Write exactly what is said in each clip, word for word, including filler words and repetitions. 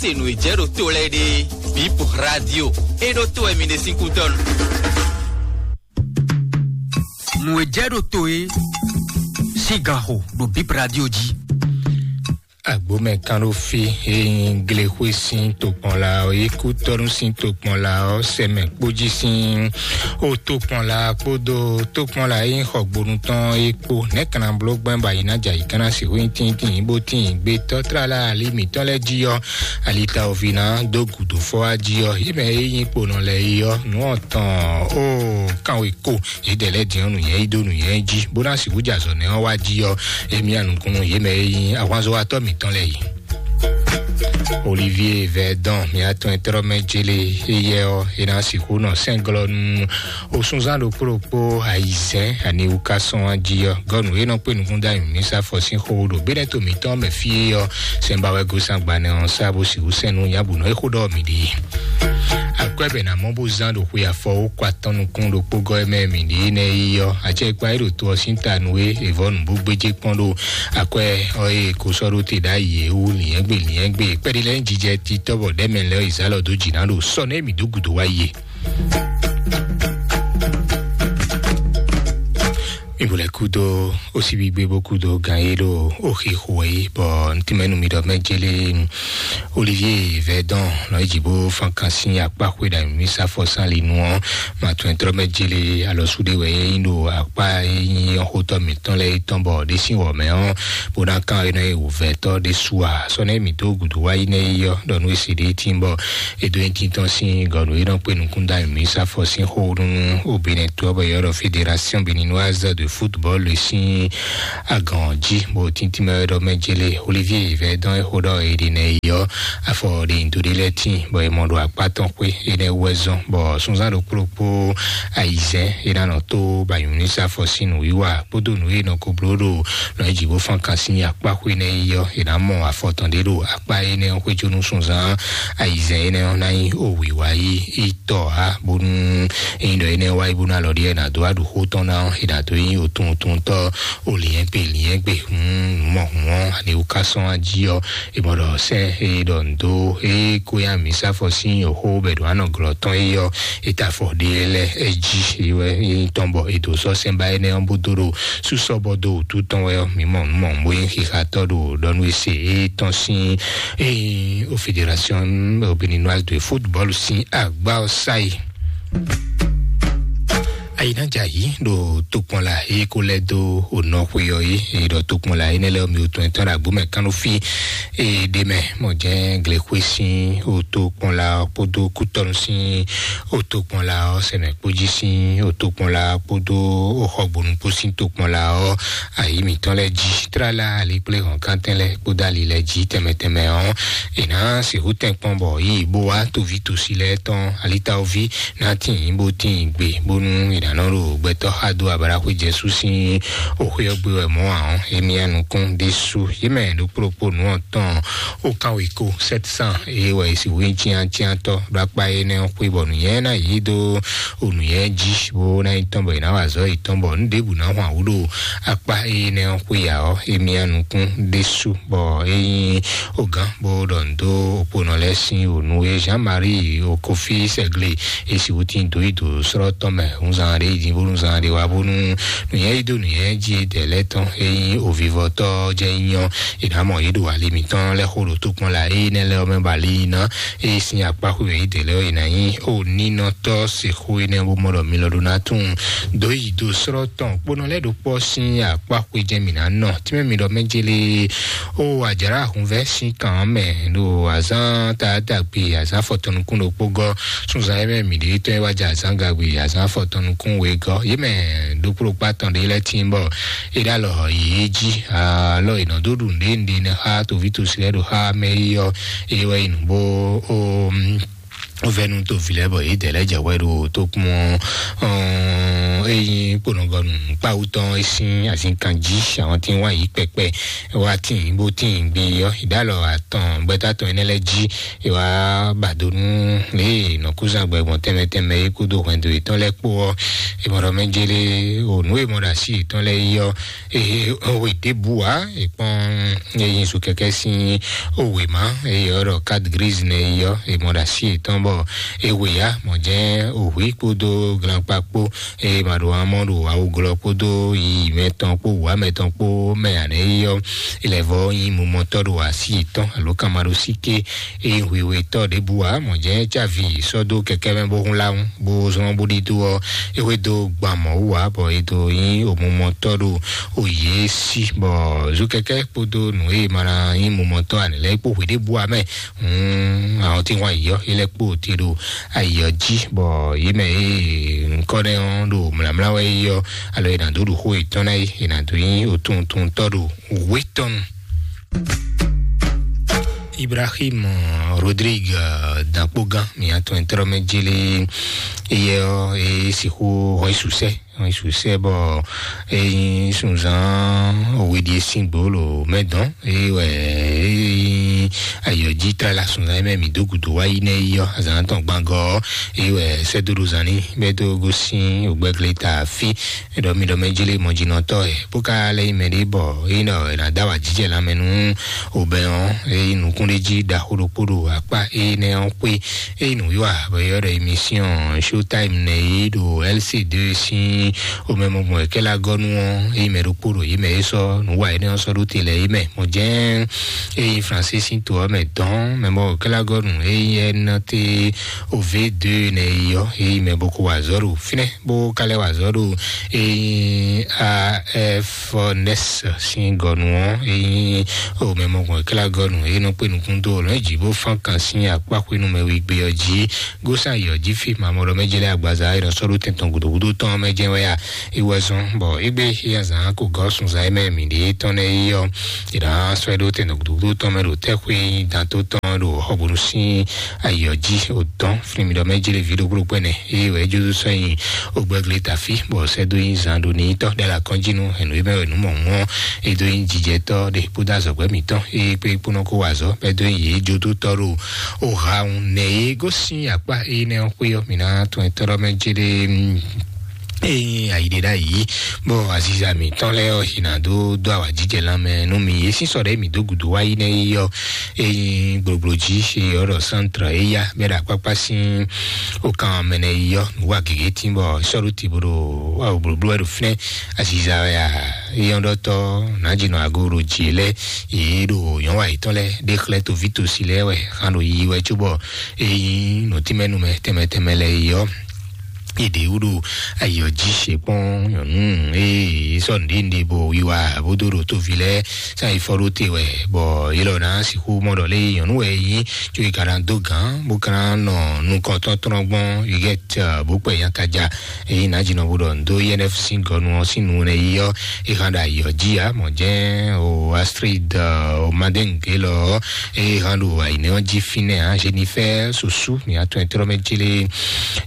Se nǔ e jɛ ɖo to lɛ́ɛ ɖe, Bip Radio, e ɖo to wɛ mi ɖe sín kútɔ́ nu. Nǔ e jɛ ɖo to e sín ganxo ɖo Bip Radio jí. Agbomɛ kan ɖo fí e nyí Glexwe sín tokpɔnla ɔ́, e kú tɔ́nú sín tokpɔnla ɔ́, sɛmɛ kpójí sín o tokpɔnla kpódó tokpɔnla e nyí xɔgbonu tɔn é kpó. Nɛ̌ kan ná bló gbɛn bɔ ayi ná jɛ ayǐ kan ná sixú nyí tíntín bó tín gbé tɔ́ tlala ali mǐtɔn lɛ́ɛ jí ɔ́, alitawoví ná dó gǔdo fɔ wá jí ɔ́, yě mɛ e nyí kponɔ lɛ́ɛ é ɔ́, nǔ ɔ́ tɔn ó kanwe kó. Yědɛɛ lɛ́ɛ din ɔ́, nǔnywɛ́ yí dó nǔnywɛ́ jí, bó ná sixú jɛ azɔ̌ nɛ́ ɔ́ wá jí ɔ́, émí anukúnnú yě mɛ e nyí ahwanzɔ́watɔ́ mǐtɔn lɛ́ɛ yi. Olivier Verdun, mia tɔn e tlɔ́ mɛ jele éyɛ́ ɔ́, é ná sixú nɔ sɛ́nglɔ́ nú osúnzán ɖokpó ɖokpó ayizɛ́n aniwúkásɔ́n jí ɔ́. Gɔ́ nǔ e nɔ kpé nukún dó anyǔmísá fɔ sín xó ɖo béɖɛ́ to mǐtɔn mɛ fí é ɔ́, sɛn ba wɛ gosín agbanɛ ɔ́ sá bó sixú sɛn nú nyabǔnɔ e xó ɖɔ mǐ ɖe. Akwɛ́ bɛ ná mɔ bó zán ɖo xwe afɔ ó kɔ atɔn nukún ɖokpó gɔ́ mɛ mǐ ɖe nɛ́ yi ɔ́, acɛkpa e ɖo to ɔ́ sín ta nú é, è vɔ́ nǔ bó gbéjé kpɔ́n ɖo akwɛ́ ɔ́ e è ko sɔ́ ɖó te ɖ'ayǐ é wú, lǐnyɛ́gbe lǐnyɛ́gbe kpɛɖé lɛ́ɛ nyí jijɛ titɔ́ bɔ ɖɛ̌mɛ lɛ́ɛ ɔ́, è zǎ lɔ dó jǐ ná ɖo sɔ́ nɛ́ mǐ dó gǔdo wá yi é. Mi bo lɛ kúdó ó síbi gbé bó kúdó gan é ɖo ó xixo é, bɔ ntí mɛ nu mi ɖɔ mɛ jélé Olivier Verdun nɔ yi jǐ bó fán kan sín akpá xwé ɖo mi sá fɔ sán li nu ɔ́, ma tún trɔ mɛ jélé alɔ súɖé wɛ é nyí ɖo akpá é nyí ɔ́ xótɔ́ mǐtɔn lɛ́ɛ é tɔn bɔ ɖé sín wɔ mɛ ɔ́, bó ná kán é nɔ yi wǔvɛ́tɔ́ ɖé su a sɔ́ nɛ́ mǐ dó gǔdo wá yi nɛ́ yi ɔ́, ɖɔ nú é se ɖé tín bɔ é dó nyí títɔn sín gɔ̌ nú é nɔ kpé nukún dó anyǔ mǐ sá fɔ sín xó nú obìnrin tó ɔ́ bɔ yɔ́ ɖɔ Fédération Béninoise de Football sín agɔn jí, bó tíntín mɛ wɛ ɖɔ mɛ jélé Olivier Verdun é xó ɖɔ é ɖi nɛ yi ɔ́, afɔ ɖe nyi do ɖé lɛ́ɛ tíin bɔ è mɔ ɖo akpá tɔn xwé énɛ́ wú wɛ zɔ́n, bɔ súnzán ɖokpó ɖokpó ayizɛ́n é ná nɔ tó banyǔ ní sá fɔ sín nǔwiwa kpódó nǔ e nɔ ko bló ɖo nɔ yi jǐ bó fán kan sín akpá xwé nɛ́ yi ɔ́, è nǎ mɔ afɔ tɔn ɖé ɖo akpá énɛ́ ɔ́ xwéjó nú súnzán ayizɛ́n énɛ́ ɔ́ ná nyí owǐwá yí yi tɔ ǎ, bónú ényí ɖɔ énɛ́ wá yi bónú alɔ ɖíe è nǎ dó wá ɖu xó tɔn ná ɔ́, è nǎ dó nyí otuntúntɔ́ olǐnyɛ́gbe lǐnyɛ́gbe hun nǔmɔhun ɔ́, aniwúkásɔ́n jí ɔ́, è mɔ ɖɔ sɛ́n e ɖɔ nǔ dó e kó nyi amǐ sáfɔ sín yǒxo bɔ è ɖǒ anɔ glɔ́ tɔn é ɔ́, é ta afɔ ɖé lɛ́ɛ é jí é wɛ é nyí tɔn bɔ è dǒ sɔ́ sɛ́n ba énɛ́ ɔ́ bó dó ɖo súsɔ bɔ dó wǔtu tɔn wɛ ɔ́, mǐ mɔ nǔ mɔ̌hun bó nyí xixatɔ́ ɖo ɖɔ nú é se é tɔn sín é nyí o Fédération Béninoise de Football sín agbá ɔ́ sá yi. Ayinájà yìí ɖo tokpɔnla e ko lɛ́ dó onɔ xwe ɔ́ yí, e ɖɔ tokpɔnla énɛ́ lɛ́ɛ ɔ́ mi wotɔn tɔn ɖo agbó mɛ kánú fí e ɖ'é mɛ mɔ jɛ́n glexwé sín otokpɔnla ɔ́ kpódó kútɔ́nú sín otokpɔnla ɔ́, sɛmɛ kpó jí sín otokpɔnla kpódó oxɔgbonu kpó sín tokpɔnla ɔ́, ayi mǐtɔn lɛ́ɛ jí tlala ali kplé hɔn kántɛn lɛ́ɛ kpódó ali lɛ́ɛ jí tɛnmɛ tɛnmɛ ɔ́, è nǎ sixú tɛn kpɔ́n bɔ yí bó wá toví tosi lɛ́ɛ tɔn alitawoví ná tíin bó tíin gbe bónú è nǎ nɔ ɖo gbɛtɔ́ xa dó ablaxwé Jezu sín oxwé ɔ́ gbé wɛ mɔ̌ ǎ ɔ́, émí nukún ɖésú yě mɛ ɖokpó ɖokpó nǔ ɔ́ tɔn ó kán wěkó sept cent é wɛ è sixú nyí cyáncyántɔ́ ɖo akpá énɛ́ ɔ́ xwé bɔ nǔnywɛ́ ná yě dó onǔnywɛ́ jí bó ná nyí tɔn bɔ è nǎ wa azɔ̌ yětɔn bɔ nǔ ɖěbǔ ná hwan wǔ ɖo akpá énɛ́ ɔ́ xwé ǎ ɔ́, émí nukún ɖésú bɔ é nyí ogán bó ɖɔ nǔ dó okponɔ lɛ́ɛ sín ònu e Jean-Marie Okofi Sɛgle e sixú tín dó yi dǒ srɔ́ tɔn mɛ. Wunzan ɖé yi din bónú zan ɖé wá bónú nǔnywɛ́ yi dó nǔnywɛ́ jí dɛ̌ lɛ́ɛ tɔn e nyí ovivɔtɔ́ jɛ nyɔ è nǎ mɔ yě ɖo ali mǐtɔn lɛ́ɛ xo ɖo tokpɔn la énɛ́ lɛ́ɛ ɔ́ mɛ ba ali yi ná. Eye sín akpá xwé mɛ yě dɛ̌ lɛ́ɛ ɔ́, è nǎ nyí oninɔtɔ́ sexó énɛ́ bó mɔ ɖɔ mi lɔ ɖó ná tunwun dǒ yi dó srɔ́ tɔn kponɔ lɛ́ɛ ɖokpɔ́ sín akpá xwé jɛ́n mǐ ná nɔ. Tínmɛ mi ɖɔ mɛ jélé ó àjǎrá ahunvɛ́ sín kan ɔ́ mɛ ɖo azǎn taátagbe azǎn afɔtɔn nukún ɖokpó gɔ́ súnzan e mɛ mǐ ɖe tɔn e wá jɛ azǎn gagbe azǎn afɔtɔn nukún wegɔ́ yě mɛ ɖokpó ɖokpó atɔn ɖé lɛ́ɛ tíin bɔ é ɖo alɔ yě jí alɔ è nɔ dó ɖu nǔɖé nǔɖé nɛ́ xá toví tosi lɛ́ɛ ɖo xá mɛ é ɔ́ é wɛ yi nǔ bó ó vɛnu to vi lɛ bɔ yě dɛ lɛ jɛ wɛ ɖo tó kpɔn. Eyin kponɔgɔnu kpawu tɔn e sín azinkan jí àwọn tí wọ́n yí pɛpɛ wá tí bó tí gbé yɔ ìdálɔ àtɔn gbɛtà tɔn énɛ́ lɛ jí. Ìwà bàdónú lè nɔkúzàgbẹ gbọ̀n tẹ́mẹtẹ́mẹ yìí kúdó hwɛndo ìtọ́n lɛ kpó ọ́. Ìmọ̀ràn mẹ́jẹlé ònú ìmọ̀ràn sí ìtọ́n lɛ yọ. Ee, òwe débù wá ìpọ́n eyin sùkẹ́kẹ́ sín òwe má. Ee, ọ̀rọ̀ carte grise nẹ yọ ìmọ̀ràn sí ìtọ́n bọ̀. Ewè yá mọ̀ jẹ́ òwe kpódó glanpa kpó. Ee, màɖo amɔ́ ɖo awuglɔ kpódó yiyi mɛtɔn kpó wǎ mɛtɔn kpó mɛ ànɛ yɔ. Ilẹ̀vɔ yin mumɔtɔ́ ɖo asi yětɔn alo kanmaɖosíké. Eye hwihwetɔ́ ɖěbǔ ǎ mɔ̌ jɛ́n cávi sɔ́ dó kɛkɛ́ mɛ bó hún lá ŋu bó zɔ́n bó ɖidó ɔ́, é hwedó gban mɔ̌ wú ǎ bɔ è dó nyí òmumɔtɔ́ ɖo òye sí, bɔ zú kɛkɛ́ kpódó nǔ e ma ná nyí mumɔtɔ́ ǎ lɛ́ɛ kpó hwe ɖěbǔ ǎ mɛ. Àwọn tí wọ́n yɔ é lɛ́ kpó te ɖo ayɔ jí, bɔ yě mɛ e ŋkɔ́ nɛ́ ɔ́ ɖo mlǎmlá wɛ é yɔ, alo è nǎ dó ɖo xó yětɔn ná é, è nǎ dó nyí òtuntun tɔ́ ɖo wětɔn. Ibrahim Rodrigue, dakpógán mǐatɔn ɛtɔ́mɛ jélé, eyɛ ɔ́ e sixú hɔn isusɛ hɔn isusɛ bɔ eyin sunzan òwe ɖi esín gbolo mɛ dɔn eye wɛ eyin ayɔjí tlala sunzan mɛ mǐ dó gǔdo wá yi nɛ yi ɔ́ azǎn tɔn gbangɔ eye wɛ sɛdóɖo zan ní bɛ dó gosín ògbɛgleta fí. Ɖɔ mi ɖɔ mɛ jélé mɔjínɔtɔ́ ɛ bó ka lɛ yi mɛ ɖé bɔ eyin nɔ ɛ ná dá wà jíjɛ lanmɛ nú obɛ ɔ́ eyin nukún ɖé jí ɖaxó ɖokpó ɖo akpá eyin nɛ ɔ́ xwé. Eyi nǔwiwa bɔ yɔ ɖɔ émission Showtime nɛ yí ɖo L C deux sín omɛmɔgbɔn kɛlagɔnu ɔ́ eyi mɛ ɖokpó ɖo yi mɛ é sɔ́ nǔwa énɛ́ ɔ́ sɔ́ ɖó te lɛ yi mɛ mɔ jɛ́n eyi Fransé sín to ɔ́ mɛ dɔn mɛ mɔ kɛlagɔnu eyi N T O V deux nɛ yi ɔ́ eyi mɛ boko wa azɔ̌ ɖo fínɛ́ bó ka lɛ́ wa azɔ̌ ɖo eyi A F N S sín gɔnu ɔ́ eyi omɛmɔgbɔn kɛlagɔnu eyi nɔ kpé nukún dó lɔn jí bó fán kan sín akpá xwénu mɛ wí gbé ɔ́ jí. Gósàn yɔ jí fí mamɔ ɖɔ mɛ jɛ lɛ agbaza e nɔ sɔ́ ɖó tɛn tɔn gǔdo gúdo tɔn mɛ jɛ wɛ ya. Iwɛ zɔn bɔ égbé ya zan kó gɔ́ sunzan e mɛ mǐ ɖe tɔn nɛ yi ɔ́. Ìdá sɔ́ ɖó tɛn tɔn gǔdo gúdo tɔn mɛ ɖo tɛ́xwé dan tó tɔn ɖo xɔbonu sín ayɔ jí o dɔn fúnmi ɖɔ mɛ jɛ lɛ ví ɖokpó ɖokpó ɛnɛ. Eye wɛ jó sɔ́ nyi ogbɛgle tafi bɔ sɛ dó nyi zan ɖo ní tɔ ɖe la kɔn jí nu ɛnu e mɛ wɛ nu mɔ mɔ e dó nyi jijɛ tɔ ɖe kpódó azɔgbɛ mǐtɔn eye kpé kpónɔ kó wa azɔ bɛ dó nyi yé jó tó tɔ ɖo o ha ŋu nɛ yé gosín akpá eye nɛ xwé ɔ́ mǐ ná tún ɛ tɔ́ ɖɔ mɛ jé ɖe. Eye ayi ɖe ɖa yi bɔ aziza mǐtɔn lɛ ɔ́ yi ná dó dó awa jíjɛ lanmɛ nú mi yé sísɔ ɖe mǐ dó gǔdo wá yi nɛ yi ɔ́. Eye gblogblo jí eye ɔ́ ɖɔ centre eya bɛ ɖo akpákpá sín o kan mɛ nɛ yi ɔ́ nǔ wa gěgé tín bɔ sɔ́ ɖó ti bó ɖo awo blóbló wɛ ɖo fínɛ́. Aziza wɛ a eyɔ́ ɖɔtɔ nǎjínɔ ago ɖo jǐ lɛ yě ɖo nyɔ̌wa yětɔn lɛ ɖe xlɛ́ toví tosi lɛ wɛ hán ɖo yiyi wɛ cóbɔ eyi nǔtínmɛnúmɛ tɛnmɛ tɛnmɛ lɛ yi ɔ́. Yěɖé wúɖu ayɔ jí ṣe kpɔn nyɔ̌nu eye sɔ nɖénɖé bo wiwa bó dó ɖo tóvi lɛ sá yi fɔ ɖó te wɛ bɔ yě lɔ ná sixú mɔ ɖɔ lé nyɔ̌nu wɛ yí tso yi ka ná dó gǎn bó ka ná nɔ nukɔntɔn tɔn gbɔn yi gɛ tɛ bó kpɛ nyakaja. Eyi nǎ dzi nɔ bó ɖɔ ndo I N F sín gɔnu ɔ́ sín nu nɛ yi ɔ́ e hã ɖo ayɔ jí ya mɔ jɛ́n o Astrid o Madenge lɔ e hã ɖo ayinɛ ɔ́ jí fínɛ́ a Jennifer Susu mi atɔn ɛtrɔ mɛ jélé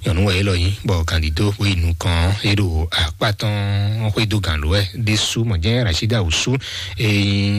nyɔnu wɛ elɔ yi bɔ kandido bó yi nukɔn e ɖo akpá tɔn xwédo gǎn ló wɛ ɖésú mɔ jɛ́n Rashida Usu e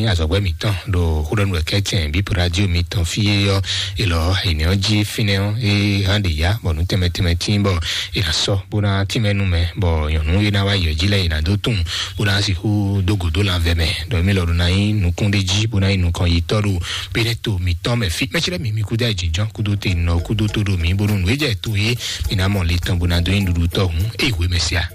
nyi azɔ̌gbɛ́ mǐtɔn ɖo xóɖɔnu wɛ kɛ́tɛn bípo radio mǐtɔn fí e yɔ elɔ ayinɛ ɔ́ jí fínɛ́ ɔ́ e hã ɖe ya bɔ nú tɛnmɛ tɛnmɛ tín bɔ e ná sɔ́ bó ná tínmɛ nú mɛ bɔ nyɔ̌nu e ná wá yɔ jí lɛ́ɛ e ná dó tunwun bó ná sixú dó gǒ dó lanvɛ mɛ ɖɔ mí lɔ ɖo ná nyí nukún ɖé jí bó ná nyí nukɔn yi tɔ́ ɖo bínɛ́ to mǐtɔn mɛ fí mɛsílẹ̀ mǐ mí kúdó ayǐjínjɔ́n kúdó te nɔ kúdó tó ɖo mǐ bónú nǔ e jɛ to é mǐ ná mɔ le tɔn bó ná dó nyí ɖuɖu tɔ́ hǔn é hwě mɛ sia.